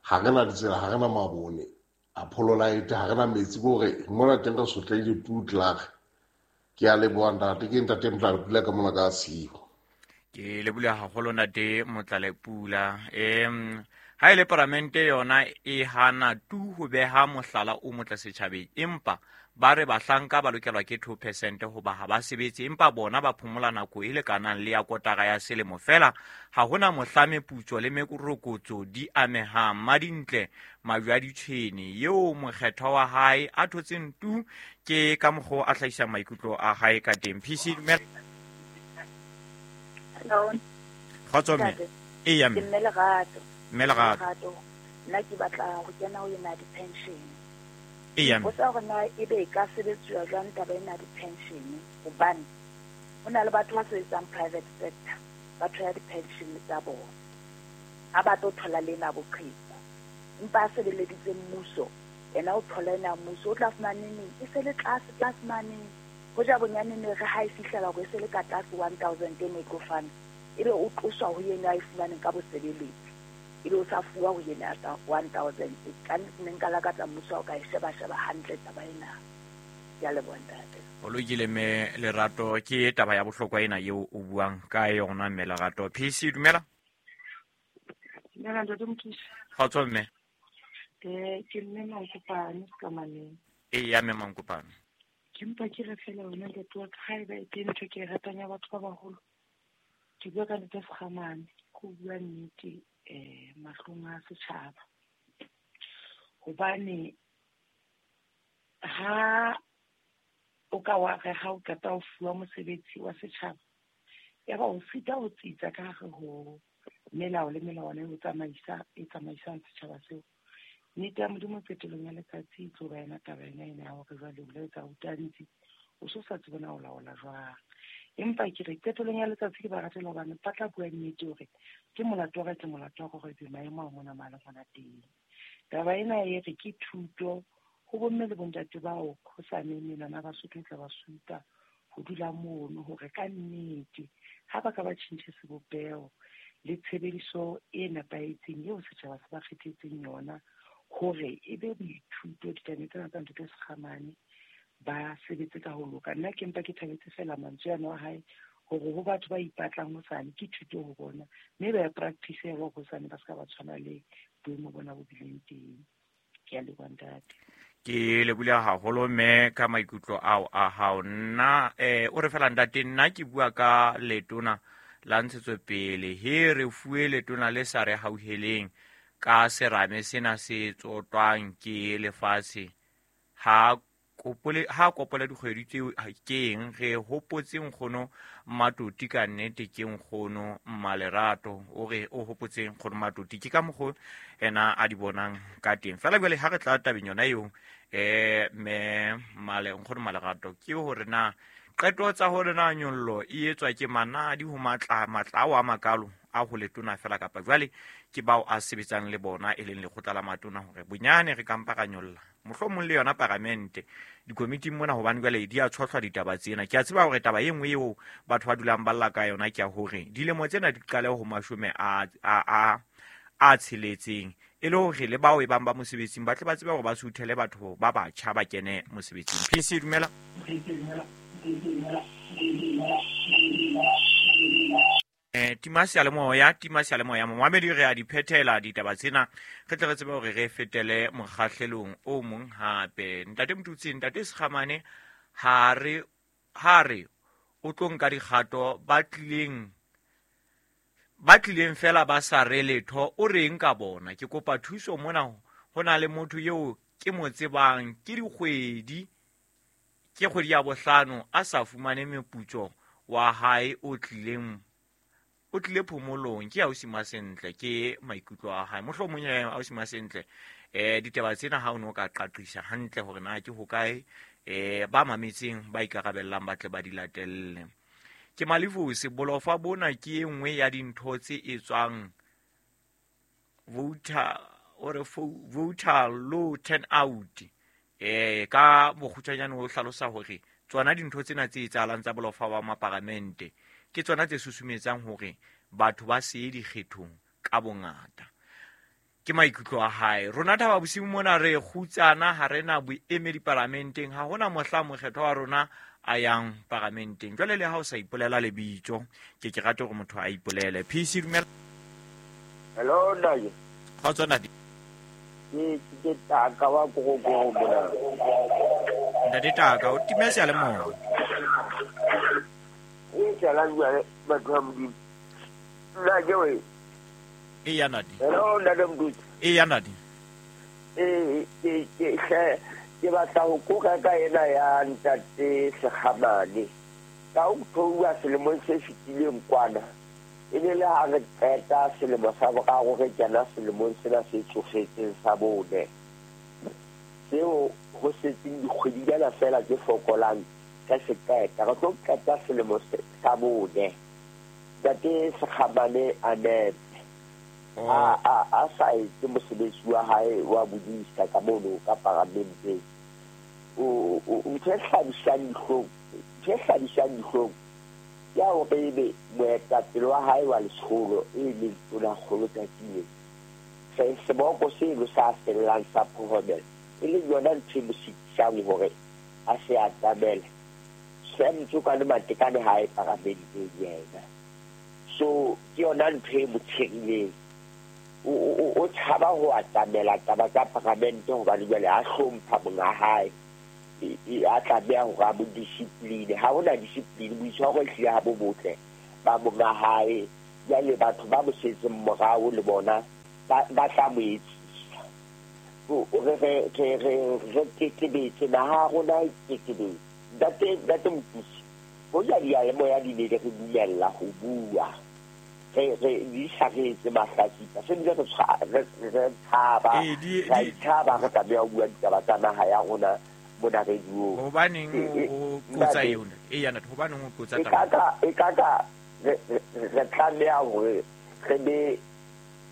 ha rena ditsela, ha rena mabone a phololaete, ha rena metsi, ke hore mona teng re sotlehile tu klaar. Ke a leboha ntate, ke ntate Motlalepula ka mona ka tshiu. Ke lebohile haholo ntate Motlalepula. Em ha e le paramente yona e hana tu ho beha mohlala o motle setjhabeng, empa ba re bahlanka ba lokelwa ke two percent hoba ha ba sebetse, empa bona ba phomola nako e lekanang le ya kotara ya selemo fela. Ha hona mohla meputso le mekorokotso di amehang. Madintle majwe a ditshwene eo mokgethwa wa hae a thotseng tu, ke ka mokgwa a hlahisang maikutlo a hae ka teng. P C, dumela. Hello. Kgotso mme. Eya mme. Ke mme Lerato. Mme Lerato. Nna ke batla ho kena ho yena di-pension. Eya mme. Potsa hore na ebe e ka sebetsuwa jwang taba ena ya di-pension, hobane ho na le batho ba sebetsang private sector, ba thola di-pension tsa bona, ha ba tlo thola le ena boqheku, empa a sebeleditse mmuso, yena o thola ena mmuso, o tla fumana neng e se le tlase tlase mane. Hoja bonyane ne re ha e fihlela hore e se le ka tlase one thousand e ne e tlo fana, ebe o tloswa ho yena a e fumaneng ka bosebeletsi, ebe o sa fuwa ho yena one thousand. Ka nnete ne nka lakatsa mmuso ha o ka e sheba-sheba hantle taba ena. Ke a leboha ntate. O lokile mme Lerato, ke taba ya bohlokwa ena eo o buang ka yona mme Lerato. P C, dumela. Dumela ntate Mothusi. Kgotso mme. Eh, ke mme Mankopane Sekamaneng. Eya mme Mankopane. Ke mpa ke re fela wena ntate wa ka, haeba e teng ntho ke e ratang ya batho ba baholo, ke bua ka ntate Sekgamane, ke ho bua nnete eh mahlong a setjhaba. Hobane ha o ka wa re ha o qeta ho fuwa mosebetsi wa setjhaba, ya ba o sita ho tsitsa ka hare ho melao le melawana e o tsamaisa, e tsamaisang setjhaba seo. Nnete ya Modimo qetellong ya letsatsi e tlo ba yona taba ena ena ya hore jwale o la etsa o tantsi, o so sa tsebe na o laola jwang. Empa ke re qetellong ya letsatsi ke ba ratela hobane ba tla bua nnete hore ke molato wa ka, ke molato wa hore ebe maemo a mona mane hona teng. Taba ena e re ke thuto ho bomme le bontate bao hosane menwana ba Basotho e tla ba supa ho dula mono hore ka nnete ha ba ka ba tjhentjhe sebopeho le tshebediso e nepahetseng eo setjhaba se ba kgethetseng yona hore e be boithuto ditabeng tsena tsa ntate Sekgamane ba sebetse ka ho loka. Nna ke mpa ke thabetse fela mantswe ano a hae hore ho batho ba ipatlang hosane ke thuto ho bona, mme ba e practice hore hosane ba ska ba tshwana le boemo bona bo bileng teng. Ke a leboha ntate. Ke lebohile haholo mme ka maikutlo ao a hao. Nna eh o re fela ntate, nna ke bua ka letona la ntshetsopele, he re fuwe letona le sa re hauheleng ka serame sena se tsotwang ke lefatshe. Ha kopole ha kopole dikgwedi tseo ke eng re hopotse nkgono Matoti, ka nnete ke nkgono Mmalerato o re o hopotse nkgono Matoti, ke ka mokgo ena a di bonang ka teng. Fela jwale ha re tla tabeng yona eo eh me male nkgono Malerato, ke hore na qeto tsa hore na nyollo e etswa ke manadi ho matla matla ao a makalo a ho letona fela, kapa jwale ke bao a sebetsang le bona e leng lekgotla la matona, hore bonyane re kampa ka nyolla mohlomong le yona paramente dikomiting mona, hobane jwale di a tshohlwa ditaba tsena. Ke a tseba hore taba e nngwe eo batho ba dulang ba lla ka yona ke ya hore dilemo tsena di qale ho mashome a a a a tsheletseng, e le hore le bao e bang ba mosebetsing ba tle ba tsebe hore ba suthele batho ba batjha ba kene mosebetsing. P C, dumela. Eh tima seyalemoya, tima seyalemoya momamedi, re a di phethela ditaba tsena, re tle re tsebe hore re fetele mokgahlelong o mong hape. Ntate Motutsi, ntate Sekgamane ha re ha re o tlo nka dikgato ba tlileng ba tlileng fela ba sa re letho, o reng ka bona? Ke kopa thuso mona, ho na le motho eo ke mo tsebang ke dikgwedi Ke kgwedi ya bohlano a sa fumane meputso wa hae o tlileng o tlile phomolong. Ke ausi Masentle, ke maikutlo a hae. Mohlomong ya ausi Masentle eh ditaba tsena ha o no ka qaqisa hantle hore na ke hokae eh ba mametseng ba ikarabellang ba tle ba di latelle. Ke Malefosi, bolofa bona ke e nngwe ya dintho tse etswang voter or voter low turnout. Eh ka bokgutshwanyane o hlalosa hore tsona dintho tsena tse etsahalang tsa bolofa ba maparamente ke tsona tse susumetsang hore batho ba se ye dikgethong ka bongata. Ke maikutlo a hae. Rona Thaba Bosiu mona re kgutsana, ha re na boemedi paramenteng, ha hona mohla mokgethwa wa rona a yang paramenteng. Jwale le ha o sa ipolela lebitso, ke ke rate hore motho a ipolele. P C dumela. Hello Ntate. Kgotso Ntate. Ke ke Taka wa Korokoro mona. Ntate Taka, o time seyalemoya. E tsala jwale batho ba Modimo. Nna ke we. E ya Ntate. Hello Ntate Mdutsi. E ya Ntate. E ke ke ke batla ho koka ka ena ya Ntate Sekgamane. Ka o theoha selemong se fetileng kwana. E ne le ha re qeta selemo sa boraro re kena selemong sena se tsofetseng sa bone. Seo ho setseng dikgwedinyana feela tse fokolang ka se qeta. Re tlo qeta selemo sa bone. Ntate Sekgamane a nepe. A a a sa etse mosebetsi wa hae wa bodisa ka mono ka paramenteng. O o ntho e hlabisang dihlong, ntho e hlabisang dihlong ya hore ebe moetapele wa hae wa letsholo e leng Tonakgolo tsatsing se seboko seno sa fellang sa Phomela e leng yona ntho e mo sitisang hore a se atamele. Sam Tsokane Matekane ha e paramenteng yena. So ke yona ntho e mo tshirileng. O o tshaba ho atamela taba tsa paramente hobane jwale a hlompha monga hae. A tlameha hore a mo discipline. Ha hona discipline, boitshwaro ehlile ha bo botle ba monga hae. Jwale batho ba mo setseng morao le bona ba tla mo etsisa. Re re re re re tetebetse, naha ya rona e tetebetse. Ntate Ntate Mothusi, hoja diyalemoya di ne di re dumella ho bua, re re di sa re etse mahlatsipa, se bile re re tshaba, ra itshaba re tlameha ho bua ditaba tsa naha ya rona mona radio. Hobaneng o qotsa yona? E ya Ntate, hobaneng o qotsa taba? E ka e ka ka re re tlameha hore re be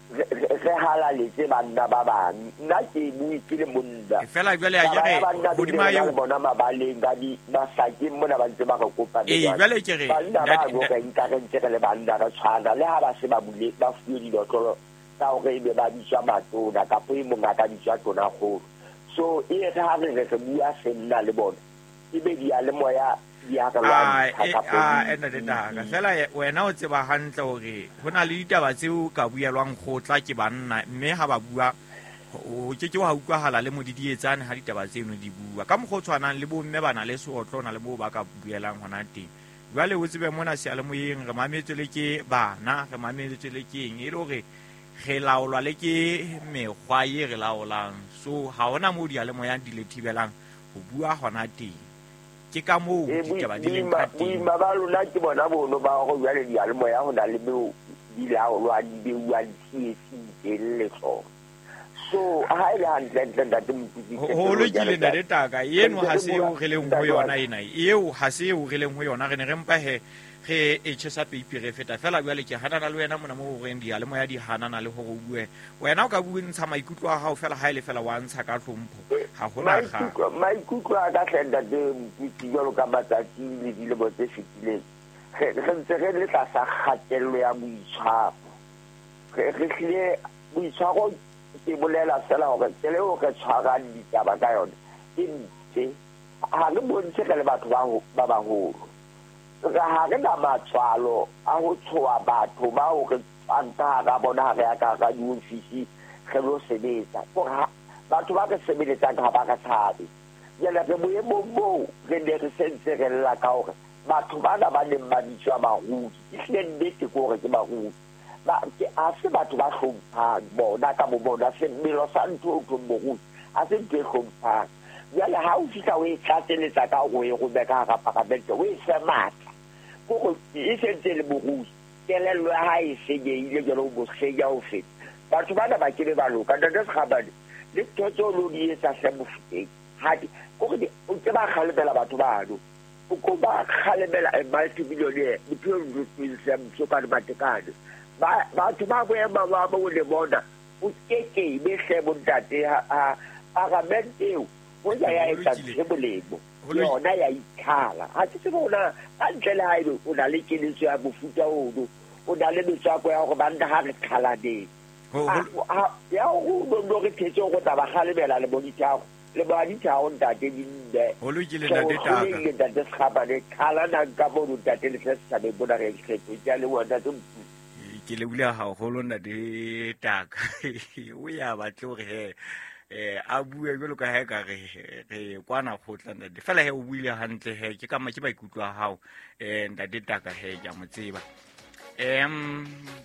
re halaletse banna ba bang. Nna ke bue ke le monna. Fela jwale a ke re hodima eo bona mabaleng ka di masakeng mona ba ntse ba re kopa. Ee, jwale ke re banna ba bo re nka re ntse re le banna re tshwana le ha ba se ba bule ba fuwe dilotlolo tsa hore ebe ba bitswa matona kapa e mong a ka bitswa tonakgolo. So e re ha re re re bua senna le bona ebe diyalemoya di a re lwantsha kapa a Ntate Taka. Fela wena o tseba hantle hore ho na le ditaba tseo ka buelwang kgotla ke banna, mme ha ba bua ho ke ke wa utlwahala le modidietsane ha ditaba tseno di bua. Ka mokgwa o tshwanang le bomme ba na le seotlo na le moo ba ka buelang hona teng. Jwale o tsebe mona seyalemoyeng re mametswe le ke bana, re mametswe le ke eng, e le hore re laolwa le ke mekgwa e re laolang. So ha hona moo diyalemoyang di le thibelang ho bua hona teng. Ke ka moo ditaba di leng ka teng. Boima ba lona ke bona bono ba hore jwale diyalemoya ho na le beo di laolwa di beuwa di-T S teng le tsona. So ha e le hantlentle Ntate Mothusi, ho lokile Ntate Taka, eno ha se eo re leng ho yona ena, eo ha se eo re leng ho yona. Re ne re mpa he re e tjhesa peipi re feta fela. Jwale ke hanana le wena mona moo horeng diyalemoya di hanana le hore o bue. Wena o ka bua ntsha maikutlo a hao fela, ha e le fela wa ntsha ka hlompho. Ha hona kgang. Maikutlo a ka hle Ntate Mothusi, jwalo ka matsatsi le dilemo tse fetileng, re ntse re le tlasa kgatello ya boitshwaro. Re hlile boitshwaro ke bolela fela hore tsela eo re tshwarang ditaba ka yona e mpe. Ha re bontshe re le batho ba baholo. Re ha re na matswalo a ho tshoha batho bao re tswang ka hara bona ha re ya ka hara diofisi re lo sebetsa. Kore batho ba re sebeletsang ha ba re tshabe. Jwale re boemong boo re ne re sentse re lla ka hore batho bana ba neng ba bitswa barui, ehlile nnete ke hore ke barui. Ba ke a se batho ba hlomphang bona ka bo bona, semelo sa ntho o thong borui a se ntho e hlomphang. Jwale ha o fihla o e tlatseletsa ka hore o e rome ka hara paramente, o e fe matla. Kore e sentse le morui, kelello ya hae e senyehile jwale o mo senya ho feta. Batho bana ba kebe ba loka. Ntate Sekgabane, le ntho tseo lo di etsa hle Mofokeng, ha di kore o ke ba kgalemela batho bano. O ko ba kgalemela a multi-millionaire, bophelo bo Msokane Matekane. Ba batho ba boema ba bo le bona, o keke be hle bontate ha paramente eo o ya ya etsa ntho e molemo. Yona ya ikhala. Ha ke tsebe hore ka ntle le haebe o na le keletso ya mofuta ono, o na le metswako ya hore banna ha re qhalaneng. Ya hore o no re thetse hore tla ba kgalemela le bonithago. Le ba dithago ntate di nne. Ho lokile ntate Taka. Ho lokile ntate Sekgabane, qhalanang ka mono ntate le tle setjhabeng mona re kgetho. Ke a leboha ntate Motutsi. Ke lebohile haholo ntate Taka. O ya batle hore he eh a bue jwalo ka ha ka re re kwana kgotla ntate. Fela he o buile hantle he ke ka ke maikutlo a hao eh ntate Taka he ke a mo tseba. Em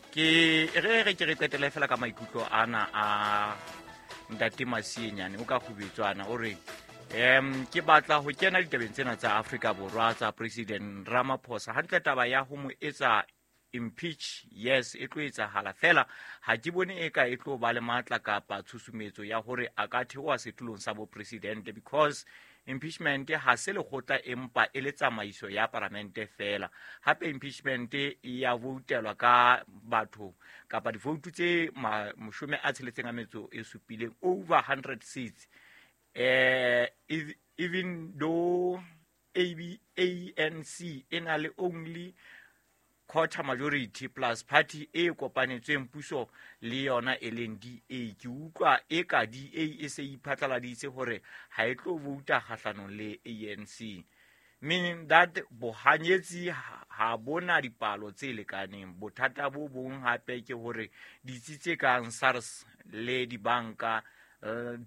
ke re re ke re qetele fela ka maikutlo ana a ntate Masienyane o ka kgubetswana o re em ke batla ho kena ditabeng tsena tsa Afrika Borwa tsa President Ramaphosa. Hantle taba ya ho mo etsa impeach, yes, e tlo etsahala fela ha ke bone e ka e tlo ba le matla kapa tshusumetso ya hore a ka theoha setulong sa bo president, because impeachment ha se lekgotla empa e le tsamaiso ya paramente fela. Hape impeachment e ya voutelwa ka batho kapa divoutu tse mashome a tsheletseng a metso e supileng, over hundred seats. Eh even though A B A N C e na le only quarter majority plus party e kopanetsweng puso le yona e leng D A. Ke utlwa e ka D A e se iphatlaladitse hore ha e tlo vouta kgahlanong le A N C, meaning that bohanyetsi ha bona dipalo tse lekaneng. Bothata bo bong hape ke hore ditsi tse kang SARS le dibanka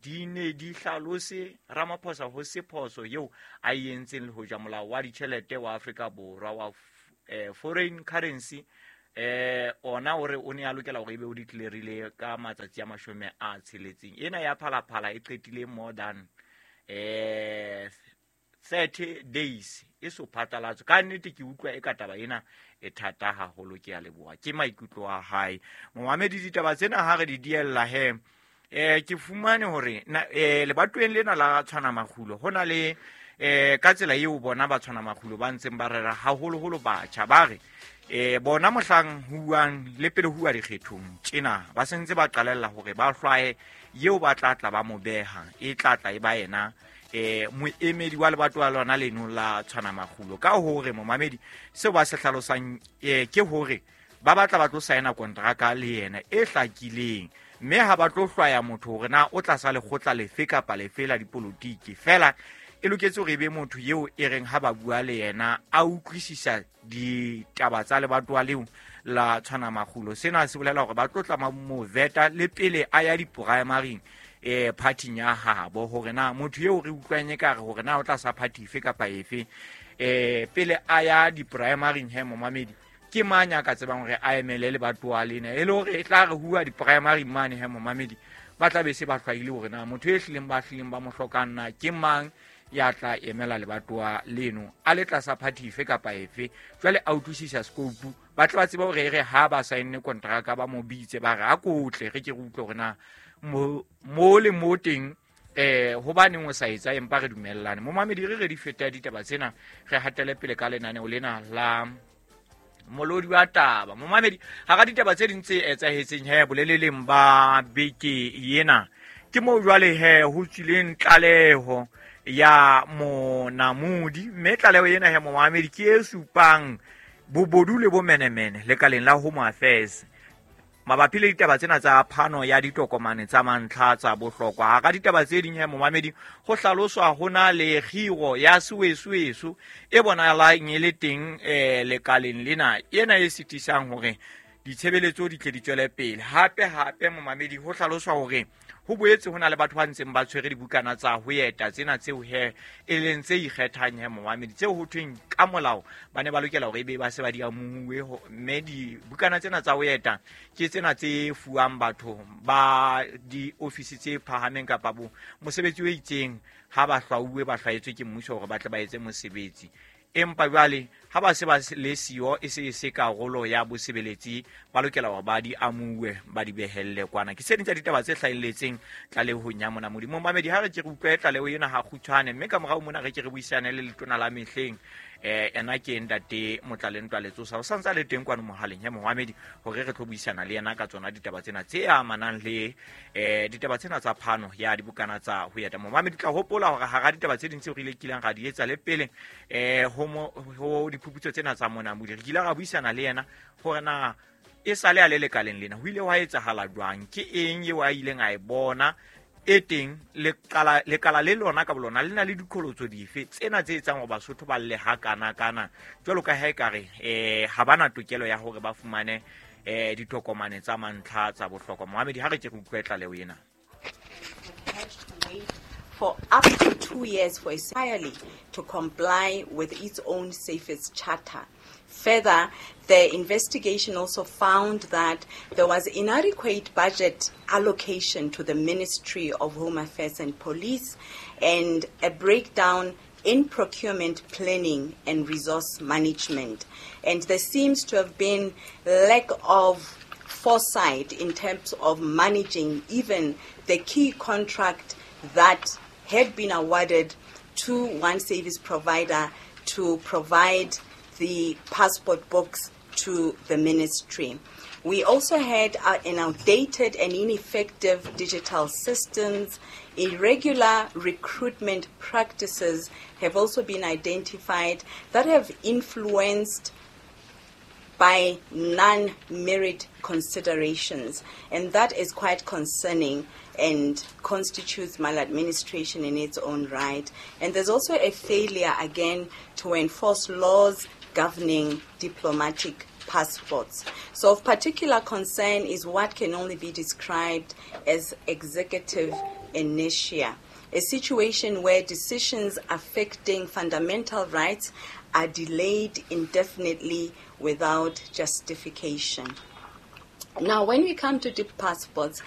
di ne di hlalose Ramaphosa ho se phoso eo a e entseng le hoja molao wa ditjhelete wa Afrika Borwa wa eh foreign currency eh ona hore o ne a lokela hore ebe o declareile ka matsatsi a mashome a tsheletseng. Ena ya Phalaphala e qetile more than eh thirty days e so phatlalatso. Ka nnete ke utlwa e ka taba ena e thata haholo. Ke a leboha, ke maikutlo a hae. Momamedi, ditaba tsena ha re di diella he eh ke fumane hore eh lebatoweng lena la tshwana makgulo hona le eh ka tsela eo bona ba tshwana makgulo ba ntseng ba rera haholoholo batjha ba re eh bona mohlang huang le pele huwa dikgethong tjena ba sentse ba qalella hore ba hlwaye eo ba tla tla ba mo beha e tla tla e ba yena eh moemedi wa lebatowa lona leno la tshwana makgulo. Ka hore momamedi seo ba se hlalosang eh ke hore ba batla ba tlo saena kontraka le yena e hlakileng, mme ha ba tlo hlwaya motho hore na o tlasa lekgotla lefe kapa lefe la dipolotiki. Fela e loketse hore ebe motho eo e reng ha ba bua le yena a utlwisisa ditaba tsa lebatowa leo la tshwana makgulo. Sena se bolela hore ba tlo tla mo veta le pele a ya di-primaryng eh party ya habo, hore na motho eo re utlwang e ka re hore na o tlasa party efe kapa efe eh pele a ya di-primaryng he momamedi ke mang ya ka tsebang hore a emele lebatowa lena e le hore e tla re hua di-primary mane he momamedi ba tla be se ba hlwaile hore na motho e hlileng ba hlileng ba mo hlokang na ke mang ya tla emela lebatowa leno a le tlasa party efe kapa efe. Jwale a utlwisisa scope, ba tla ba tseba hore e re ha ba saenne kontraka ba mo bitse ba re a kotle re ke re utlwe hore na mo le mo teng eh hobaneng o sa etsa empa re dumellane. Momamedi re re di feta ditaba tsena re hatele pele ka lenaneo lena la molodi wa taba. Momamedi, hara ditaba tse ding tse etsahetseng he boleleleng ba beke ena ke moo jwale he ho tswileng tlaleho ya monamodi, mme tlaleho ena he momamedi ke e supang bobodu le bomenemene lekaleng la Home Affairs mabapi le ditaba tsena tsa phano ya ditokomane tsa mantlha tsa bohlokwa. Hara ditaba tse ding he momamedi ho hlaloswa ho na le kgiro ya sewesuwesu e bonahalang e le teng eh lekaleng lena, ena e sitisang hore Ditshebeletso di tle di tswele pele. Hape hape momamedi ho hlaloswa hore ho boetse ho na le batho ba ntseng ba tshwere dibukana tsa ho eta tsena tseo he e leng tse ikgethang he momamedi, tseo ho thweng ka molao ba ne ba lokela hore ebe ba se ba di amohuwe, mme dibukana tsena tsa ho eta ke tsena tse fuwang batho ba diofisi tse phahameng kapa bo mosebetsi o itseng ha ba hlwauwe ba hlwaetswe ke mmuso hore ba tle ba etse mosebetsi. Empa jwale ha ba se ba le siyo e se e se karolo ya bosebeletsi, ba lokela hore ba di amuwe ba di behelle kwana. Ke tse ding tsa ditaba tse hlahelletseng tlalehong ya Monamodi. Momamedi, ha re ke re utlwe tlaleho ena ha kgutshwane, mme ka morao mona re ke re buisane le letona la mehleng eh ena ke ntate Motlalentwa Letsosa, o santse a le teng kwano mohaleng ya momamedi hore re tlo buisana le yena ka tsona ditaba tsena tse amanang le eh ditaba tsena tsa phano ya dibukana tsa ho eta. Momamedi, tla hopola hore hara ditaba tse ding tseo re ile kileng ra di etsa le pele eh ho ho diphuputso tsena tsa Monamodi, re kile ra buisana le yena hore na e sale a le lekaleng lena ho ile hwa etsahala jwang, ke eng eo a ileng a e bona e teng, lekala lekala le lona ka bolona le na le dikholotso dife tsena tse etsang hore Basotho ba lle ha kana kana jwalo ka ha ekare eh ha bana tokelo ya hore ba fumane eh ditokomane tsa mantlha tsa bohlokwa. Mohamedi, ha re ke re utlwe tlaleho ena. For up to two years for entirely to comply with its own safest charter. Further, the investigation also found that there was inadequate budget allocation to the Ministry of Home Affairs and Police and a breakdown in procurement planning and resource management. And there seems to have been lack of foresight in terms of managing even the key contract that had been awarded to one service provider to provide the passport books to the ministry. We also had uh, an outdated and ineffective digital systems. Irregular recruitment practices have also been identified that have influenced by non-merit considerations, and that is quite concerning and constitutes maladministration in its own right. And there's also a failure, again, to enforce laws governing diplomatic passports. So of particular concern is what can only be described as executive inertia, a situation where decisions affecting fundamental rights are delayed indefinitely without justification. Now, when we come to the passports,